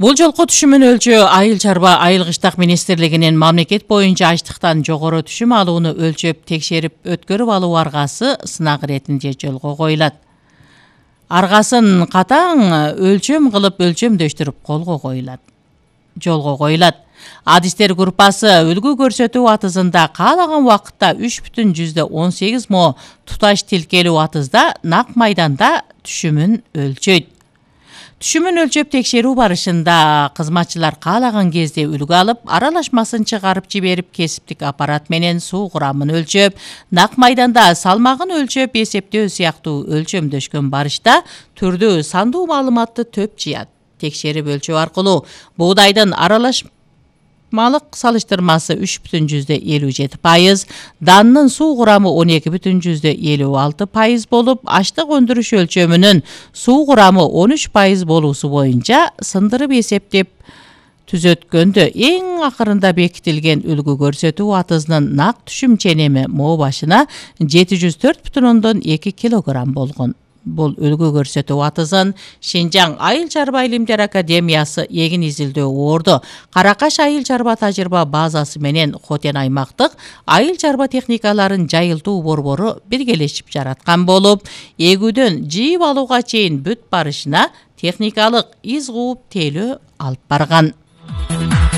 Бул жолку түшүмүн өлчөө Айыл чарба айыл кыштак министрлигинин мамлекет боюнча ачлыктан жогору түшүм алууну өлчөп текшерип өткөрүп алуу аргасы сынак иретинде жолго коюлат. Аргасын катаң өлчөм кылып өлчөмдөштүрүп жолго коюлат. Адистер группасы үлгү көрсөтүү атызында каалаган убакытта 3,18 мо туташ тилкелүү атызда нак майданда түшүмүн өлчөйт. Түшүмүн өлчөп текшерүү барышында кызматчылар каалаган кезде үлгү алып, аралашмасын чыгарып жиберип, кесиптик аппарат менен суу курамын өлчөп, нак майданда салмагын өлчөп эсептөө сыяктуу өлчөмдөшкөн барышта түрдүү сандуу маалыматты төп жыят. Текшерип өлчөө аркылуу буудайдын аралашмалык салыштырмасы 3,57%, данынын суу курамы 12,56% болуп, аштык өндүрүш өлчөмүнүн суу курамы 13% болуусу боюнча сындырып эсептеп түзөткөндө эң акырында бекитилген үлгү көрсөтүү атызынын нак түшүм ченеми мо башына 704,2 кг болгон. Бул үлгү көрсөтүү атызын Шинжаң Айыл чарба илимдер академиясы эгин изилдөө орду, Каракаш айыл чарба тажрыйба базасы менен Хотен аймактык айыл чарба техникаларын жайылтуу борбору биргелешип жараткан болуп, эгүүдөн жыйып алууга чейин бүт барышына техникалык из кууп тейлөө алып барган.